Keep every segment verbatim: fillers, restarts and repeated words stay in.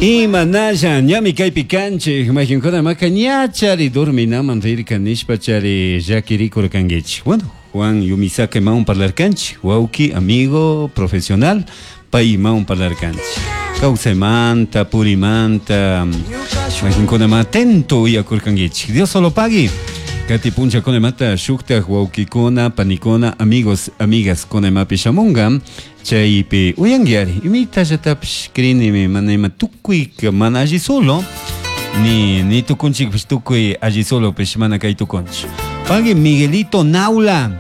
Imanalla ñami kaypi kanchik mayqinkuna maka ñachari durminaman rirka nishpa chari llakirikurkankichik. Bueno, Juan Yumisaka imawan parlarkanchik, wawki, amigo, profesional, pay imawan parlarkanchik. Kawsaymanta, purimanta, mayqinkuna ma atento uyakurkankichik. Dios solo pagui. Kati punchakuna imata shuktak wawkikuna, panikuna, amigos, amigas kuna imapi shamunga chaypi uyankiari imitallatapish crinimi mana ima tukuy mana alli solo ni ni tukunchikpish tukuy alli solopish mana kay tukunchik. Pagui Miguelito Naula.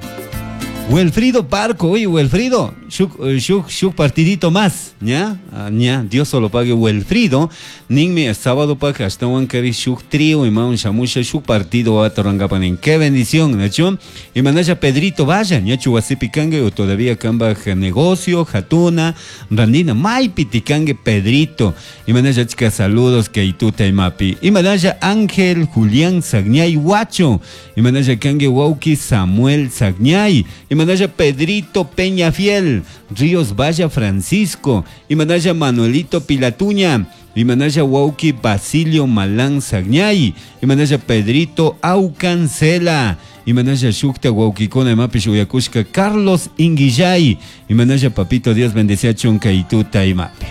Wilfrido Parco, oye Wilfrido, shuk, shuk, shuk partidito más, ¿ya? Ah, ña, Dios solo pague Wilfrido, ninmi sábado pag ashtawan kari shuk trío imawan shamusha shuk partido atorangapanin. Qué bendición, ¿nachu? Y manasha Pedrito vaya, ñachu wasipi kangue o todavía kambaj negocio, jatuna, randina, maypi tikangue Pedrito. Y manasha chica saludos que ituta imapi. Y manasha Ángel Julián Sagñay Huacho. Y manasha kangue wauki Samuel Sagñay. Y manaya Pedrito Peñafiel, Ríos Valla Francisco, y manaya Manuelito Pilatuña, y manaya Wauki Basilio Malán Sagñay, y manaya Pedrito Aucancela, y manaya Shukta Wauquicona Mapish Uyakushka Carlos Inguillay, y manaya Papito Dios bendecía Chunca y Tuta y Mapi.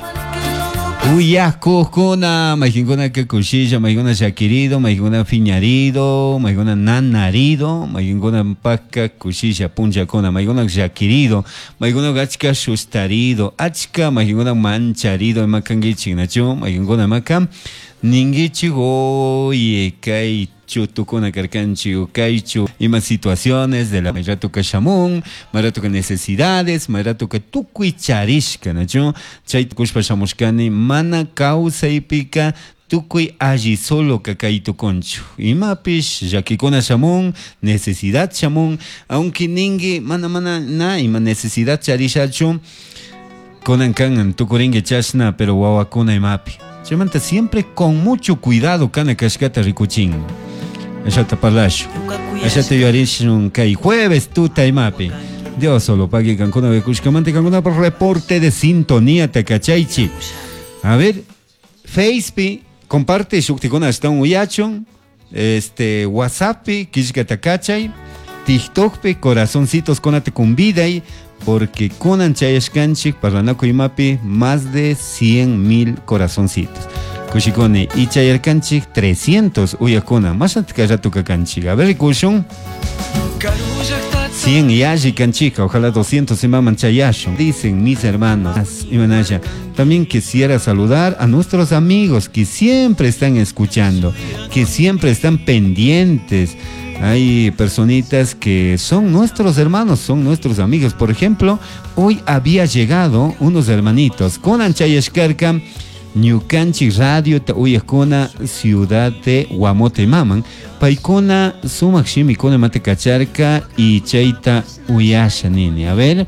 Uyakukuna, mayqinkuna kushilla, mayqinkuna llakirido, mayqinkuna fiñarido, mayqinkuna nanarido, mayqinkuna paka kushilla punchakuna, mayqinkuna llakirido, mayqinkuna achka sustarido, achka mayqinkuna mancharido ima kankichik nachu, mayqinkuna imaka ninkichik oye kay chutukuna karkanchik kaychu ima situaciones de la mayratuka shamun, mayratuka necesidades, mayratuka tukuy charishka nachu, chay tukushpa shamushkani mana kawsaypika tukuy alli solo kay tukunchu imapish llakikuna shamun, necesidad shamun, aunque ninki mana mana na ima necesidad charishachu kunan kan tukurinki chashna pero wawakuna imapi chaymanta siempre con mucho cuidado kana kashkata rikuchin. Ashata parlashu. Ashata yuyarishun kay jueves tuta imapi. Dios solo pague kankuna kushkamanta kankuna por reporte de sintonía takachaychi. A ver, Facepi comparte shuktikuna ashtawan uyachun, este WhatsAppi killka takachay, TikTokpi corazoncitos kunata kunviday, porque kunan chayashkanchik parlanakuy imapi más de cien mil corazoncitos. Kushikuni y chayarkanchik trescientos uyakuna, más rato kanchik. A ver, kushun. cien y alli kanchika, ojalá doscientos imaman chayashun. Dicen mis hermanos, Imanaya, también quisiera saludar a nuestros amigos que siempre están escuchando, que siempre están pendientes. Hay personitas que son nuestros hermanos, son nuestros amigos. Por ejemplo, hoy había llegado unos hermanitos con Anchayashkarka, Ñukanchik Radio uyakuna ciudad de Guamote Maman, paykuna sumak shimikuna mate kacharka y chayta uyasha nini. A ver,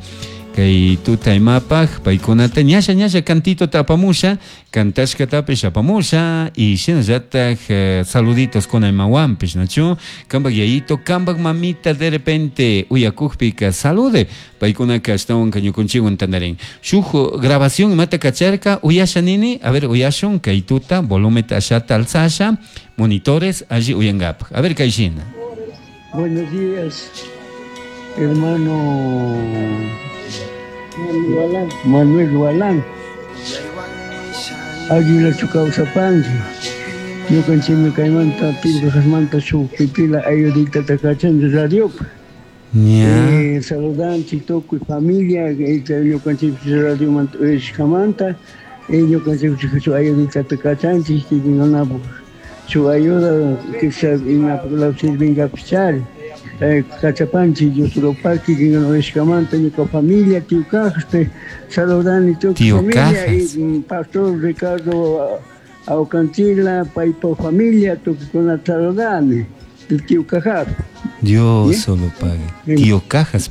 kay tuta imapaj paykunata ñasha ñasha cantito tapamusha, kantashka tapish apamusha y shinallataj eh, saluditos con imawanpish, nachu, kambak yayito, kambak mamita de repente uyakujpika salude, paykunaka ashtawan ñukunchikwan tandarin. Shuk grabación imata kacharka uyasha nini, a ver uyashun kay tuta volumeta ashata alzasha, monitores allí uyankapaj. A ver kay shina. Buenos días, hermano Manuel Gualán. Ayula kawsapanki. Ñukanchikmi kaymanta Pilcajasmanta shuk pipila ayudita takachanchik radiopi. Ña. Eh, saludanchik tukuy familia, ñukanchik radiomanta uyashkamanta, eh, ñukanchik shuk ayudita takachanchik, kikinkunapuk shuk ayuda quizás imapuk sirvinkapichari. Eh, kachapanchik Dios lo pague, kikinkuna uyashkamanta ñuka familia, tío Cajas, te saludani tukuy Tío familia Cajas. y, mm, pastor Ricardo Aucantila, paypa familia, tukuykuna saludani, tío Cajas. Dios ¿Sí? solo pague. Sí. Tío Cajas.